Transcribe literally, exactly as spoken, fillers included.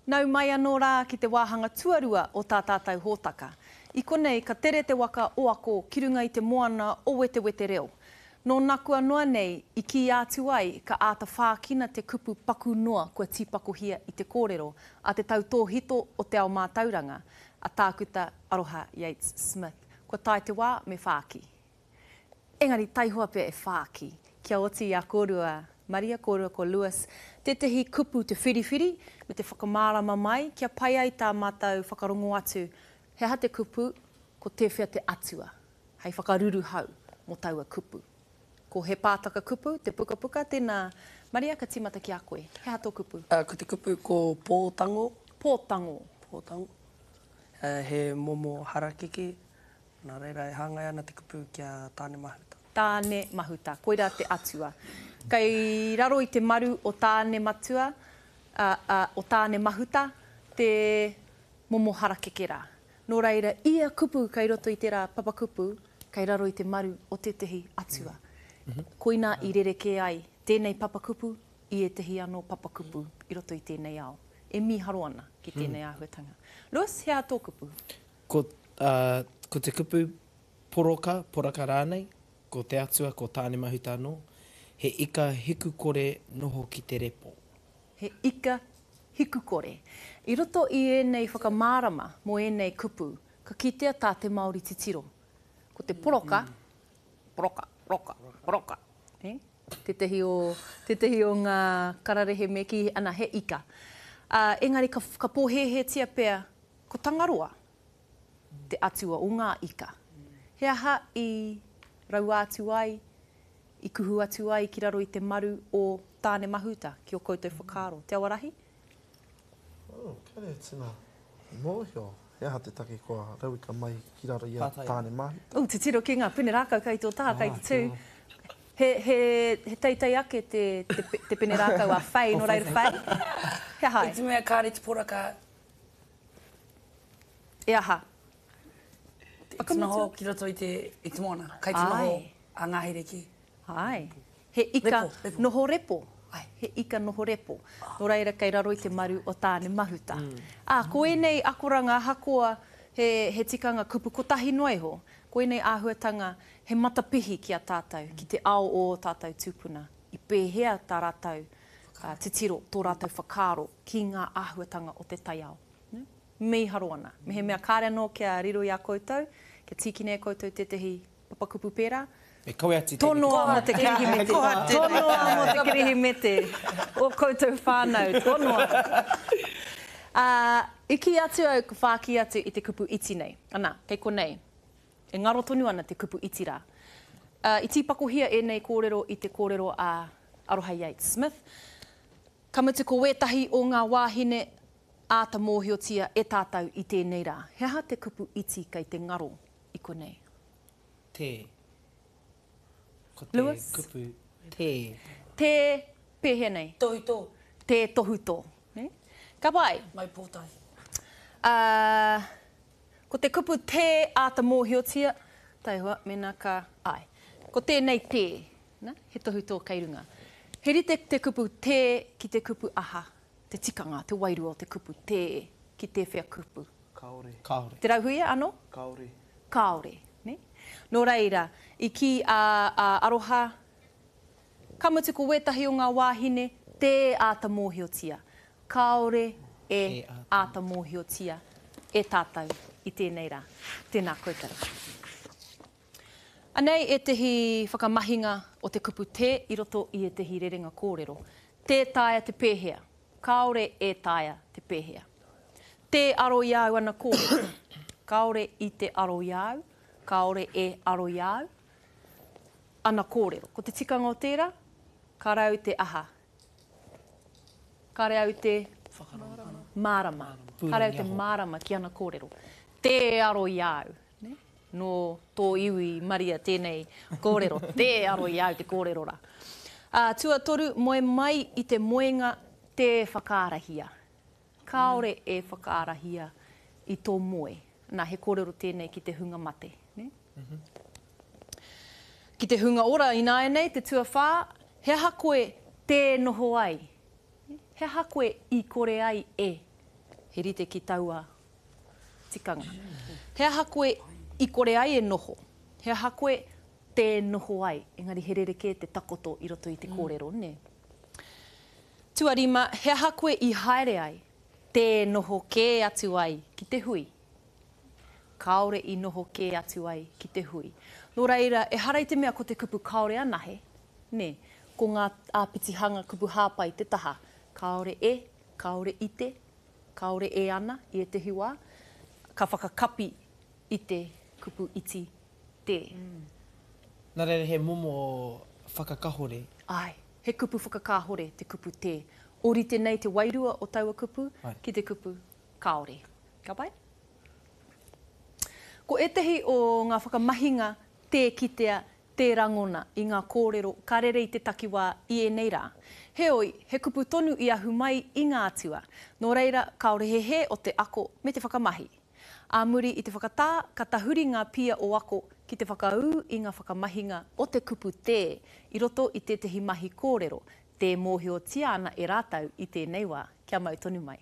Nau mai anō rā ki te wāhanga tuarua o tā tātou hōtaka. I konei ka tere te waka o Ako ki runga i te moana o Wetewete Reo. Nō nakua noa nei i kīia atu ai ka āta whākina te kupu paku noa kua tīpakohia i te kōrero a te tautōhito o te ao mātauranga, a Tākuta Aroha Yates-Smith. Kua tae te wā me whāki. Engari taihoa pea e whāki, kia oti i a kōrua Maria kōrua ko Lewis tētehi kupu te whiriwhiri me te whakamārama mai kia pai ai tā mātou whakarongo atu he aha te kupu, ko tēwhea te atua hei whakaruruhau mō taua kupu. Ko He Pātaka Kupu te pukapuka, tēnā Maria ka tīmata ki a koe. He aha tō kupu? Ko te kupu ko pōtango. Pōtango. Pōtango. He momo harakeke, nā reira e hāngai ana te kupu ki a Tāne Mahuta. Tāne Mahuta, koirā te atua. Kei raro i te maru o Tāne Matua, ā, ā, o Tāne Mahuta te momo harakeke rā. Nō reira, ia kupu kei roto i tērā papakupu, kei raro i te maru o tētehi atua. Koinā i rerekē ai tēnei papakupu i ētehi anō papakupu i roto i tēnei ao. E mīharo ana ki tēnei āhuatanga. Lewis, he aha tō kupu? Ko, ā, ko te kupu poroka, poraka rānei, ko te atua, ko Tāne Mahuta anō, he ika hikukore noho ki te repo. He ika hikukore. I roto i ēnei whakamārama mō ēnei kupu, ka kitea tā te Māori titiro. Ko te poroka, poroka, poroka, poroka, eh? Tētehi o, tētehi o ngā kararehe me kī, ana, he ika. Ā, engari ka, ka pōhēhētia pea ko Tangaroa te atua o ngā ika. He aha i raua atu ai, i kuhu atu ai ki raro i te maru o Tāne Mahuta, ki ō koutou whakaaro? Te Awarahi? Oh, kāre tino mōhio he aha te take kua rauika mai ki raro i a Tāne Mahuta. Oh, titiro ki ngā pene rākau kei tō taha, kei te tū. He, he, he teitei ake te, te, te pene rākau a Faye, nō reira Faye, he aha ai? I te mea kāre te poraka. E aha? I te noho ki roto i te, i te moana. Kai te noho a ngahere ki. Āe. He ika noho repo. He ika noho repo. Nō reira kei raro i te maru o Tāne Mahuta. Ā, ko ēnei akoranga ahakoa he, he tikanga kupu kotahi noa iho, ko ēnei āhuatanga he matapihi ki a tātou, ki te ao o ō tātou tūpuna. I pēhea tā rātou titiro, tō rātou whakaaro ki ngā āhuatanga o te taiao. Mīharo ana. Mehemea kāre anō kia riro i a koutou, kia tīkina e koutou tētehi papakupu pērā, Me kawe atu tēnei ki te Tonoa mō te Kirihimete. Tonoa mō te Kirihimete. Ō koutou whānau, tonoa. Ā, i kī atu au, ka whāki atu i te kupu iti nei. Ana, kei konei, e ngaro tonu ana te kupu iti rā. Ā, i tīpakohia ēnei kōrero i te kōrero a Aroha Yates Smith. Ka mutu ko wētahi o ngā wāhine āta mōhiotia e tātou i tēnei rā. He aha te kupu iti kei te ngaro i konei? Tē. Ko te Lewis? kupu tē. Tē pēhea nei? Tohutō. Tē tohutō. Nē? Ka pai. Mau pōtae. Ā, ko te kupu tē āta mōhiotia, taihoa, mēnā ka, āe. Ko tēnei tē, nā, he tohutō kei runga. He rite te kupu tē ki te kupu aha, te tikanga, te wairua o te kupu tē ki tēwhea kupu? Kāore. Kāore. Te Rauhuia anō? Kāore. Kāore, nē? Nō reira, i kī a, a Aroha, ka mutu ko wētahi o ngā wāhine tē āta mōhiotia. Kāore e āta mōhiotia e tātou i tēnei rā. Tēnā koutou. Anei ētehi whakamahinga o te kupu tē i roto i ētehi rerenga kōrero. Tē taea te pēhea. Kāore e taea te pēhea. Tē aro i a au ana kōrero. Kāore i te aro i a au, kāore e aro i a au ana kōrero. Ko te tikanga o tērā, kāre au te aha. Kāre au te mārama. Kāre au te mārama ki ana kōrero. Tē aro i a au. Nō tō iwi Maria tēnei kōrero, tē aro i a au te kōrero rā. Ā, tuatoru, moe mai i te moenga tē whakaarahia. Kāore e whakaarahia i tō moe. Nā, he kōrero tēnei ki te hunga mate, nē? Ki te hunga ora ināianei, te tuawhā, he aha koe tē noho ai? He aha koe i kore ai e He rite ki taua tikanga. He aha koe i kore ai e noho? He aha koe tē noho ai? Engari he rerekē te takoto i roto i te kōrero, nē? Tuarima, he aha koe i haere ai, tē noho kē atu ai ki te hui? Kāore i noho kē atu ai ki te hui. Nō reira, ehara i te mea ko te kupu kāore anahe, nē, ko ngā āpitihanga kupu hāpai te taha, kāore e, kāore i te, kāore e ana i ētehi wā, ka whakakapi i te kupu iti tē. Nā reira he momo whakakahore. Āe, he kupu whakakāhore te kupu tē. Ōrite nei te wairua o taua kupu ki te kupu kāore. Ka pai? Ko ētehi o ngā whakamahinga tē kitea, tē rangona i ngā kōrero ka rere i te takiwā i ēnei rā. Heoi, he kupu tonu i ahu mai i ngā atua. Nō reira, kāore he hē o te ako me te whakamahi. Ā muri i te whakatā, ka tahuri ngā pia o ako ki te whakaū i ngā whakamahinga o te kupu tē i roto i tētehi mahi kōrero, tē mōhiotia ana e rātou i tēnei wā. Kia mau tonu mai.